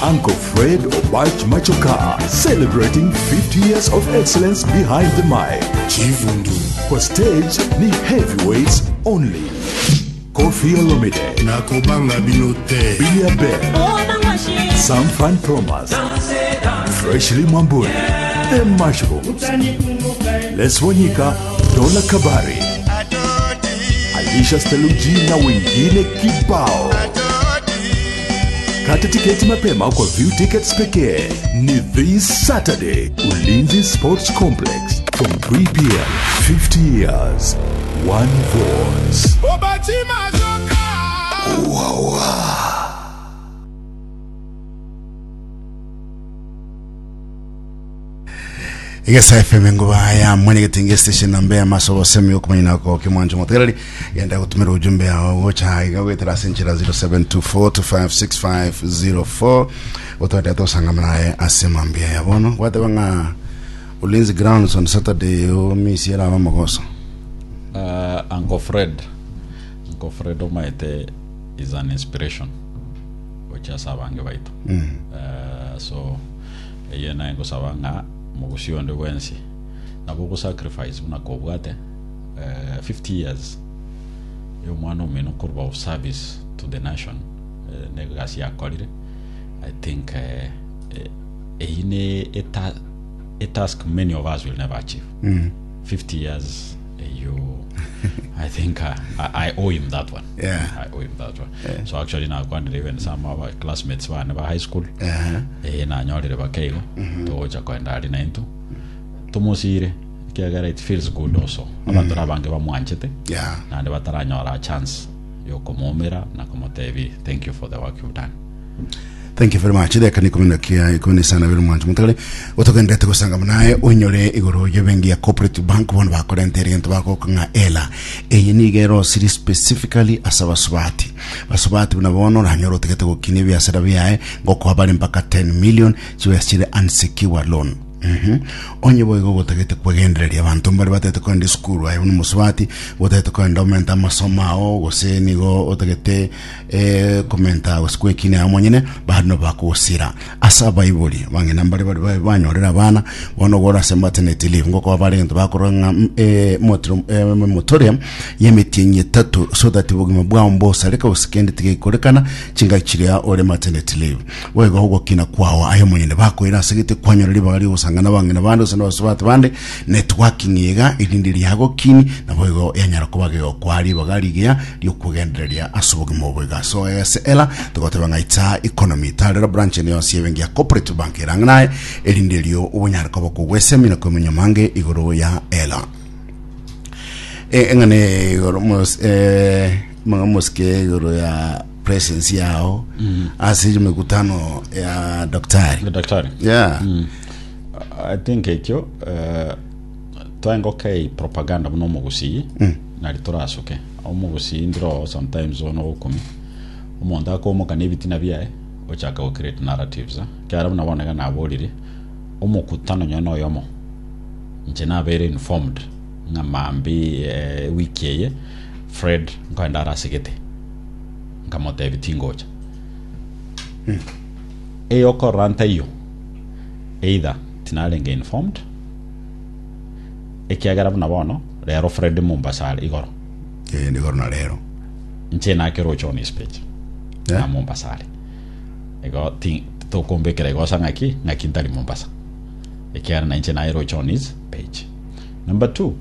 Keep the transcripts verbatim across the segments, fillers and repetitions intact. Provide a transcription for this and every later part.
Uncle Fred Obach Machoka, celebrating fifty years of excellence behind the mic. Chivundu. Kwa stage ni heavyweights only. Koffi Olomide, Nakobanga bino te. Bilia Bell, Sam Fan Thomas, Freshly Mwamburi, The Mushrooms, Les Wanyika, Dola Kabari, Alisha Steluji na wengine kibao. Kata tiketi mapema kwa View Tickets pekee. Ni this Saturday, Ulinzi Sports Complex from three p m. fifty years, one voice. Egesa F M nguba ya mwene getinge station nambe ya maso bosemi okumanya nako kimwanjo motegereri genda gutumira ujumbe yao gocha iga gwetera senchera zero seven two four two five six five zero four otwende tosanga naye ase mambia ya bono gwateba ng'a Ulinzi Grounds on Saturday o misiera aba mogoso. Uh, Uncle Fred, Uncle Fred omaete is an inspiration gochia abange baito. mm. uh, so eye naye ngosaba ng'a mogusii onde bwensi nabo ogosacrifice buna kobwate uh, fifty years ya omwana omino korwa of service to the nation, uh, negasi yakorire. I think uh, eh, eyi ne a, a task many of us will never achieve. mm. fifty years eyo, I think uh, I, I owe him that one. Yeah. I owe him that one. So actually nakwanire even some of our classmates bane ba high school, uh-huh. eh nanyorire bakeigo togocha kwenda ari naintu tumusire kiagera it feels good also abanto abange bamwanchete yeah naende bataranyora a chance yokomumira na komotebi thank you for the work you've done. Thank you very much. Reka ni kumi na kia ikumi na isano biri mwancho mutagale utogendete gusanga munaye unyore iguru yebengi ya Cooperative Bank bono bakorente egento bagoka ela eye niga siri specifically ase basubati basubati buna bono oranyora otegete gokina ebiasara biaye ngokoa bari mpaka ten million chibe chire unsecured loan. Mhm. Onye boigo gotagete kwegendereria abanto mbari batete koenda esukuru aye buna omosubati gotagete koenda omenta amasomo ao gose nigo otagete eh, komenta gose kwekina ao monyene bado bakogosira ase abaibori bang'ina mbari bari ba- banyorera abana bono gora ase maternity leave ngokoba bare egento bakorora ng'a mm, eh, motoro- eh, motoria y'emetienyi etato so that obogima bwao mbosareka gose kende tigekorekana chingaki chiria ore maternity leave. Boigo ogokina kwao aye monyene bakoira ase gete kwanyora ribaga rigosangana bang'ina bande gose na basubati bande networking iga erinde riagokini nabo igo yanyara kuba gegokwa ribaga rigiya riokugendereria ase obogima obo iga. So ase ela togoteba ng'a itsa economy tarera branch ene yonsi ebengi ya Cooperative Bank erang'e naye erinde rio obonyara koba kogwesemia na komenya mange igoro ya ela. Eh, eng'ane igoro mos eh manga mosike igoro ya presence yao ase mikutano ya daktari. The daktari. Yeah. I think ekio uh, twaengoka propaganda muno omogusii nari torasuke omogusii ndiro sometimes ono gokumi omonto akomoka na ebitina biaye ochaka go create narratives, eh. Kiara buna bonega naborire omokutano nyono oyomo inche nabere informed ng'a mambi eh, wiki eye Fred nkoenda arasigete nkamotebi tingocha eyokorora ntaiyo either tinarenge informed ekiagera buna bono rero Fred Mombasa are igoro. Eh, ndigoro na rero. Nche nakerocha on his page Yeah. na Mombasa are igo ti tokombekera igosa ng'aki ng'aki ntari Mombasa ekiagera na inche naerocha on his page. Number two,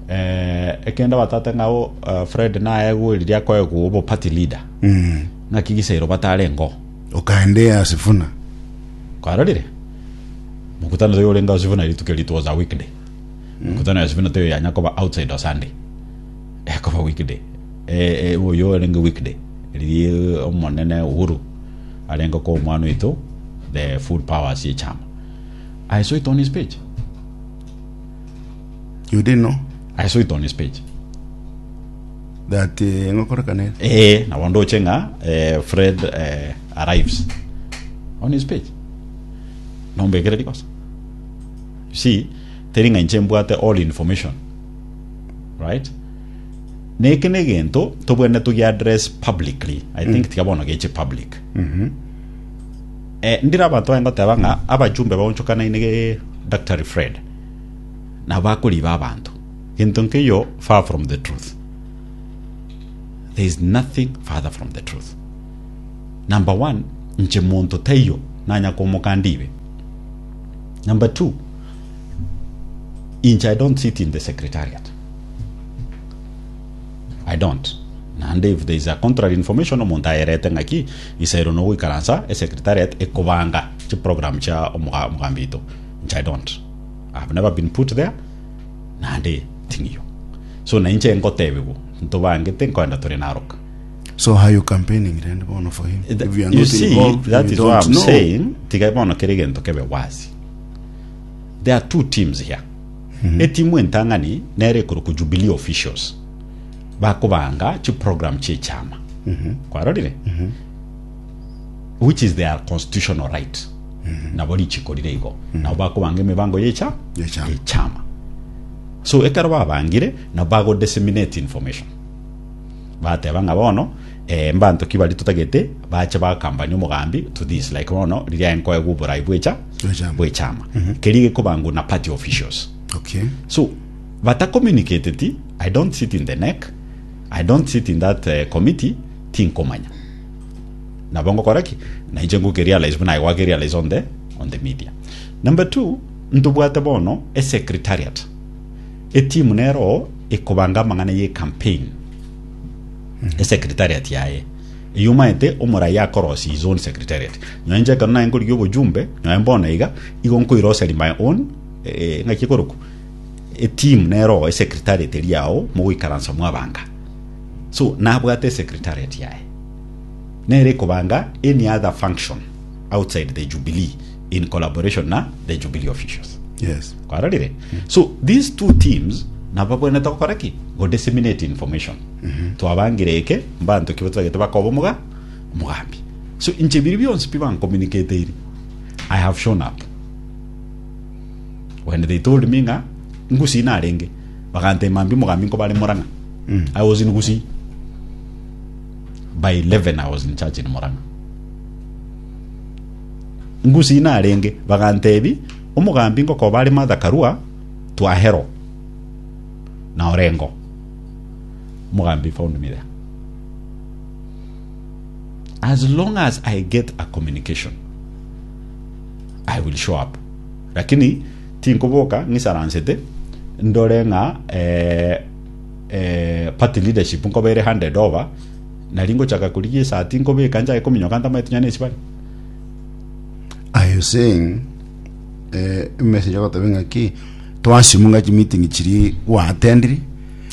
eh, ekenda batate ng'ao uh, Fred naegweririe akoegwa obo party leader mm. ng'aki gisairo batare ngo ukaendea Sifuna. Kwarorire mukutano toyo orenga Sifuna rituko it was a weekday. Mukutano ya Sifuna toyo yanyakoba outside of Sunday, yakoba weekday. eh, eh, oyo orenge weekday riri omonene Uhuru arenga ko omwana oito the full powers ye chama. I saw it on his page. You didn't know? I saw it on his page. That uh, ngokorekane. Eh na ndoche ng'a eh, Fred eh, arrives on his page nombekere rikosa. You see, teri ng'a inche mbwate all information, right? Neke negento tobwene tugi address publicly. I think tiga bono geche public. Eh, ndira abanto baye ngoteba ng'a abajumbe baonchokanaine ge Dr. Fred na bakoriba abanto gento nkeyo far from the truth there is nothing farther from the truth number one nche monto taiyo nanya komoka ndibe number two inche i don't sit in the secretariat i don't nande if there is a contrary information omonto ayerete ng'aki isairo nogoikaransa esecretariat ekobanga chiprogram chia omuga- omugambi ito nche i don't i have never been put there nande ting'iyo so na inche ngotebigu ntobangete nkoenda tore naroka So how you campaigning then bono for him? Th- If you are you not see involved, that you is don't what i'm know. saying tiga bono kere gento kebe wazi there are two teams here etimu entang'ani nere ekoro ku jubilee officials bakobanga chiprogram chiechama kwarorire which is their constitutional right nabo richikorire igo nabo bakobanga emibango yecha Yechama. yechama so ekero babangire nabo bago disseminate information bateba ng'a bono eh, mbanto ki bari totagete bache bakambani omogambi to this like bono riria enkoegwa oborai bwecha Bwechama. bwechama keri gekobangwa na party officials Okay. so batacommunicated i don't sit in the neck i don't sit in that uh, committee tinkomanya nabo ngokora ki nainche ngukerealize buna gwakerealize on the on the media number two ntobwate bono esecretariat etimu nero ekobanga amang'ana ye campaign esecretariat yaye eyumaete omorai akorosi his own secretariat nyoe nche ekero naye nkorigia obojumbe nyoe mbono iga igo nkoiroseri my own eh, ng'aki ekoroku etimu nero esecretariat eri yao mogoikaransa mwabanga so nabwate esecretariat yaye nere ekobanga any other function outside the jubilee in collaboration na the jubilee officials Yes. kwarorire so these two teams nabo babwenerete gokora ki go disseminate information twabangire eke mbanto ki batagete bakoba omoga omogambi so inche biri bionsi pi bancommunicateire i have shown up when they told me ng'a ngusi narenge bagantema mbi omogambi nkobare Murang'a i was in Gusii by eleven i was in church in Murang'a ngusi narenge bagantebi omogambi ngokoba are Martha Karua twahero na Orengo omogambi found me there as long as i get a communication i will show up lakini tinkoboka ng'isaransete ndore ng'a eh, eh, party leadership nkobere handed over nari ngochaka kurigia esati nkobeka nchake kominyoka ntamaete nyane esibari Are you saying eh message agoteba ng'aki twasimunga chimeeting chiri gwatendiri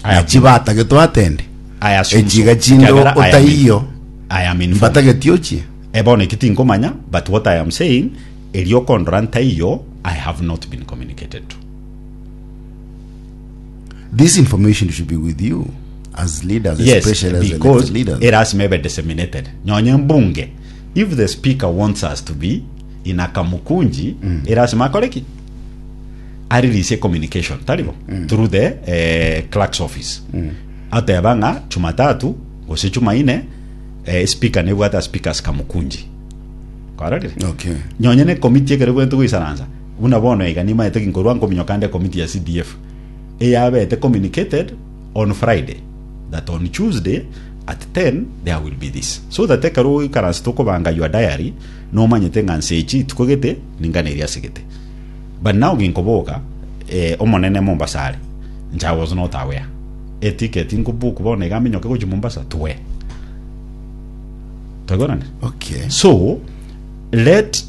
I have- nachibatage twatende I assume Echiga so. chindo Kiagera I am in- otaiyo. I am informed. mbatageti ochie ebono eki tinkomanya but what i am saying erio kondora ntaiyo i have not been communicated to this information should be with you as leaders yes especially as because elected leaders it has maybe disseminated nyonye mbunge if the speaker wants us to be in a kamukunji mm. erasima akoreki arelease communication taribo mm. through the eh, clerk's office mm. ateba ng'a chumatatu gose chumaine eh, speaker nebwata speakers kamukunji kwarorire okay nyonye ne committee ekere bwente goisaransa buna bono iga nimaete ginkorwa nkominyoka nde committee ya CDF eyabete communicated on Friday that on Tuesday at ten there will be this so that ekero oikaransa tokobanga your diary nomanyete ng'a nse echi tukogete ningana eria asigete but now ginkoboka eh, omonene Mombasa are nche I was not aware eticket nkobook bono iga minyoke gochi Mombasa tuwe twaigonane okay so let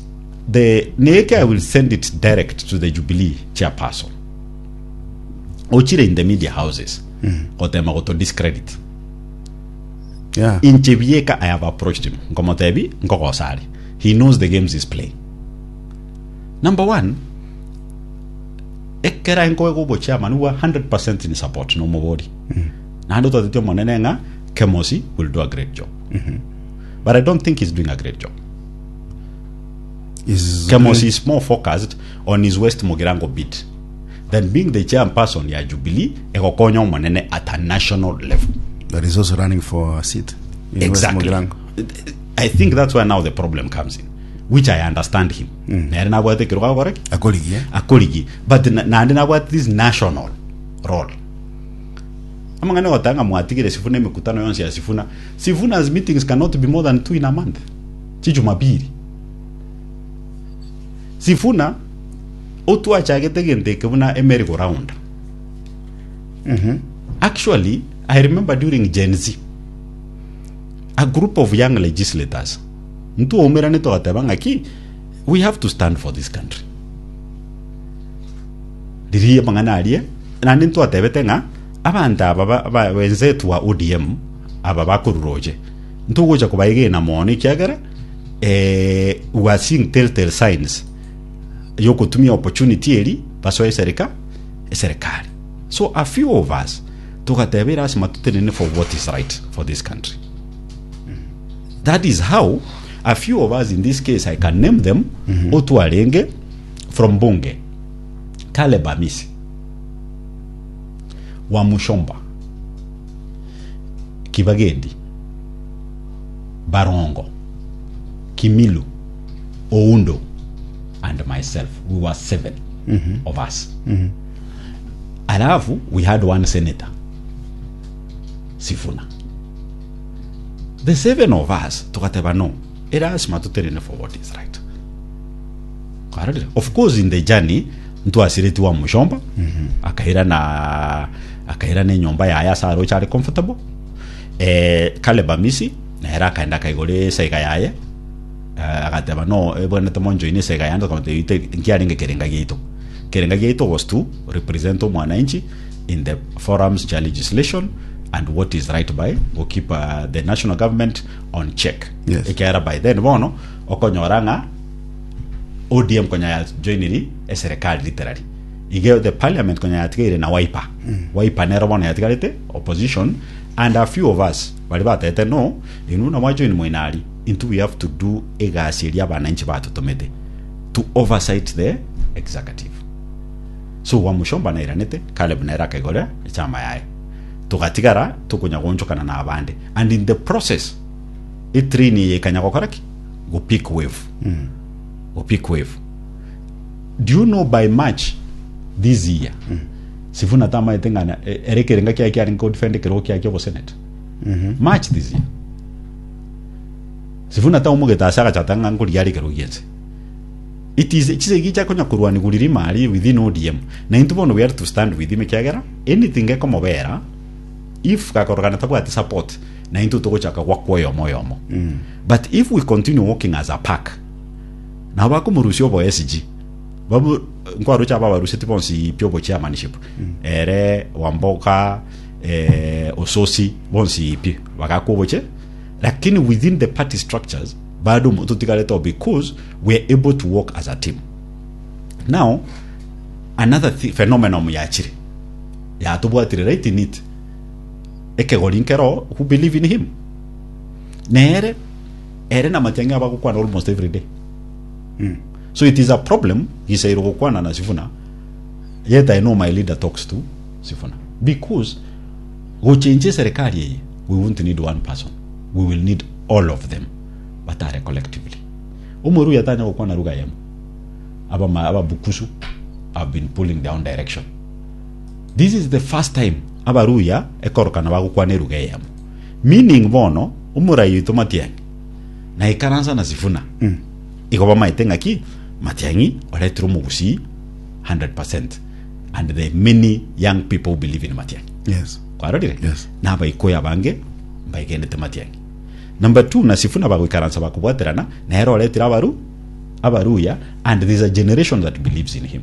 the Neke I will send it direct to the Jubilee chairperson. Ochire in the media houses. Gotema goto discredit. yeah Inche bieka I have approached him. Nkomotebi nkogosari. He knows the games he's playing. Number one, ekera nkoego bo chairman wa one hundred percent in support no mobori. Nando tatete monene nga Kemosi will do a great job. But I don't think he's doing a great job. is Kemosi is more focused on his West Mugirango bid than being the chairperson ya Jubilee egokonya omonene at a national level. that is also running for a seat in Exactly. West Mugirango. I think that's where now the problem comes in. Which I understand him. Nere nabwate ekero gakora ki? Akorigie. Akorigi, but na- naende nabwate this national role. Amang'ana gotanga mwatigire Sifuna emikutano yonsi ya Sifuna. Sifuna's meetings cannot be more than two in a month. Chijumapili. Sifuna otwachagete gento eke buna e merry go round. Actually, I remember during Gen Z, a group of young legislators ntwaumerane twagateba ng'aki we have to stand for this country. Riria mang'ana aria naende ntwatebete ng'a abanto aba ba- ba- wenzetu wa O D M aba bakoruroche ntogocha kobaegena mono ekiagera eh, we are seeing telltale signs yokotumia opportunity eri basoe eserika eserikali. So a few of us tugateba erasima tutenene for what is right for this country. That is how a few of us, in this case I can name them, otwarenge from bunge Caleb Amisi wa Mushomba, Kibagendi, Barongo, Kimilu, Oundo and myself. We were seven of us. Alafu we had one senator, Sifuna. The seven of us tukateba no, erasima tuterene for what is right. Karorire. Of course, in the journey ntwasireti wa Mushomba akaira na akaira nenyomba yaye ase aroche are comfortable. eh, Caleb Amisi nere akaenda akaigora esaiga yaye. Eh, agateba no ebwenete monjoine esaiga yande tukamotebia nkiarenge kerenga giaito. Kerenga giaito was to represent omwananchi in the forums cha legislation and what is right by go keep uh, the national government on check. Yes. Ekiara by then bono okonyora ng'a O D M konya ya joiniri eserikali literally ige the parliament konya yatigaire na Wiper. Wiper nero bono yatigarete opposition, and a few of us bari batete no inu na mwajoin moinari into we have to do egasi eria abananchi batutomete to oversight the executive. So Wamushomba nairanete, Caleb naira akaigora echama yaye, tugatigara tukunya gonchokana na abande, and in the process etrain yekanya gokora ki go pick wave go pick wave. Do you know by March this year Sifuna tamaete ng'ana e- ere kerenga kiaye kiarenge kodefend kerogo kiaye kia obosenate? March this year Sifuna taumogete ase agachata ng'a nkoria are kerogo giense. It is chisegi chiakonya kurwani guriri mari within O D M na into bono we have to stand with him ekiagera anything ekomobera if gakorogana tabwati support na into togochaka gwakwa oyomo oyomo. But if we continue working as a pack nabo bakomorusia obo S G babu nkwarucha aba baruseti bonsi pi obo chairmanship ere Wamboka, eh, Ososi bonsi pi bagakoboche, lakini within the party structures bado tutigarete because we are able to work as a team. Now another thi- phenomenon yachire yatubwatire right in it ekegori nkero who believe in him nere ere na Matiang'i abagokwana almost every day. So it is a problem gisairo gokwana na Sifuna, yet I know my leader talks to Sifuna because gochenje serikali eye we won't need one person, we will need all of them batare collectively. Omoru yatanya gokwana ruga yemo aba ma- aba Bukusu have been pulling down direction. This is the first time abaruya ekorokana bagokwana eruga eyemo, meaning bono omorai oito Matiang'i na ikaransa na Sifuna igo bamaete ng'aki Matiang'i oretire omogusii one hundred percent, and the many young people believe in Matiang'i. Yes. Kwarorire? Yes. Nabaikoya abange mbaigendete Matiang'i. Number two, na Sifuna bagoikaransa bakobwaterana nere oretire abaru abaruya, and there's a generation that believes in him.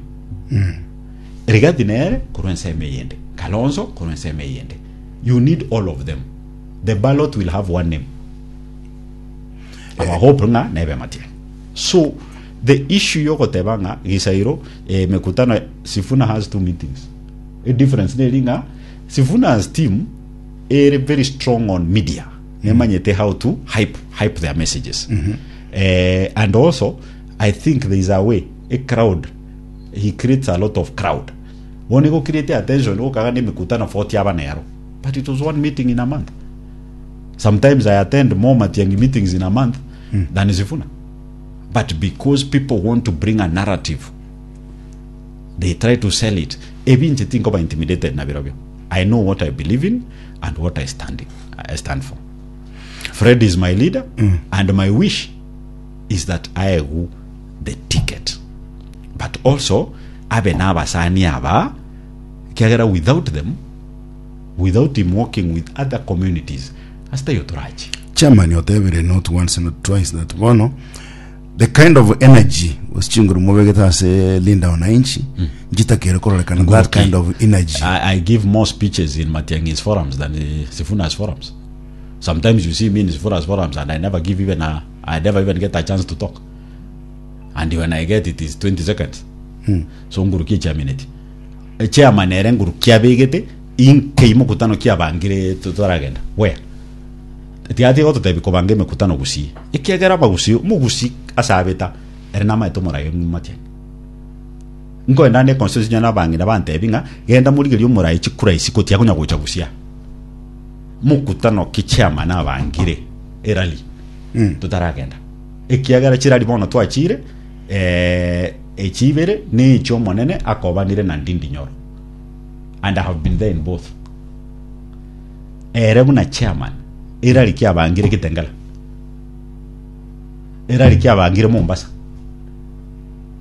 Rigathi nere korwa ensemo eyende, Kalonzo korwa ensemo eyende. You need all of them. The ballot will have one name. Our hope ng'a nebe Matiang'i. So the issue yogoteba ng'a gisairo eh, mekutano, Sifuna has two meetings. A difference neri ng'a Sifuna's team ere very strong on media, nemanyete how to hype hype their messages. eh, and also I think there is a way a crowd, he creates a lot of crowd. Wone go create attention gokaga ni mikutano forty aba nero, but it was one meeting in a month. Sometimes I attend more Matiangi meetings in a month than Sifuna. But because people want to bring a narrative, they try to sell it. Ebinche tinkoba intimidated na birobio. I know what I believe in and what I stand in, I stand for. Fred is my leader, and my wish is that I who the ticket. But also, abe n'abasani aba kiagera without them, without him working with other communities, asitayo turachi. Chairman otebire not once, not twice, that bono the kind of energy chinguru mubegete ase Linda Wananchi njitakire kororekana that Nguruki. Kind of energy. I, I give more speeches in Matiang'i's forums than the Sifuna's forums. Sometimes you see me in Sifuna's forums and I never give even a, I never even get a chance to talk. And when I get it is twenty seconds. So nguruki chairmaneti. E chairman ere nguruki abegete inke mukutano kiabangire tutaragenda. Where? Tiati gototebi kobanga emekutano gusii ekiagera abagusi mugusi asabeta ere namaete omoraia Matiang'i nkoenda ne constituency nyana abang'ina bantebi ng'a genda morigeria omorai chikura isiko tiakonya gocha gusia mukutano ki chairman abangire erali tutaragenda ekiagera chirari bono twachire eh, echibere necho omonene akobanire na Ndindi Nyoro, and I have been there in both. Ere buna chairman erari kiabangire Kitengela, erari kiabangire Mombasa.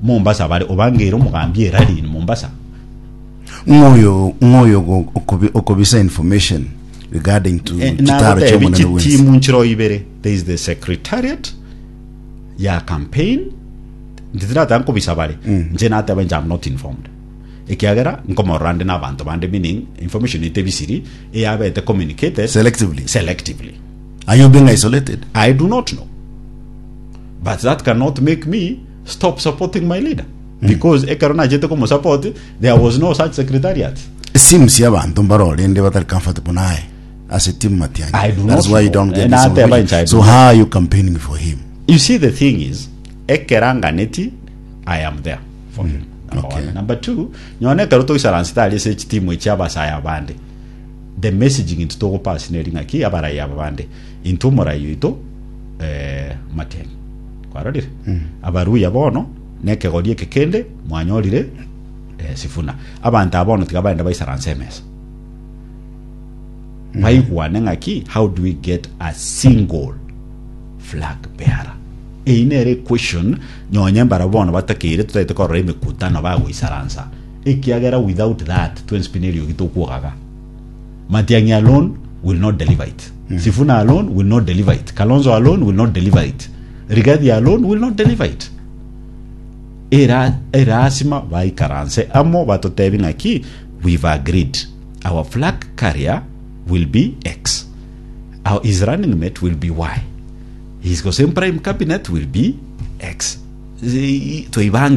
Mombasa bari obangire omugambi erari in Mombasa. Ng'oyo ng'oyo go- okobi- okobisa information regarding to Eh, chitaro nagotebi chomonene wins chitimu nchiro ibere. There is the secretariat ya campaign nditirata nkobisa bare nche nateba nche am not informed ekiagera nkomorora nde na abanto bande, meaning information itebisiri eyabete communicated selectively. Selectively. Are you being isolated? I do not know. But that cannot make me stop supporting my leader. Because ekero nachete kumusupport, there was no such secretariat. Seems y'abantu mbarorende batari comfortable naye as a team Matiang'i. I do That's not why you know. don't get Eh, this nateba information. nche, I do So not. how are you campaigning for him? You see, the thing is, ekeranganeti, I am there for him. Number Okay. one. Number two, nyone ekero toisaransi ase echitimu echi abasaya abande. The messaging into togopass neri ng'aki abarai aba bande. Into omorai oito eh, Matiang'i. Kwarorire? Abaruya bono nekegori eke kende mwanyorire eh, Sifuna. Abanto aba bono tiga baende baisaranse emesa. Baigwane ng'aki how do we get a single flag bearer? Eyi nere question nyonye mbara bono batakeire tutaete korora emekutano bagoisaransa ekiagera without that twenspinelio gitokwogaga. Matiang'i alone will not deliver it. Sifuna alone will not deliver it. Kalonzo alone will not deliver it. Rigathi alone will not deliver it. Era erasima baikaranse amo batotebi ng'aki we've agreed our flag carrier will be X, our his running mate will be Y, his same prime cabinet will be X. Toibange.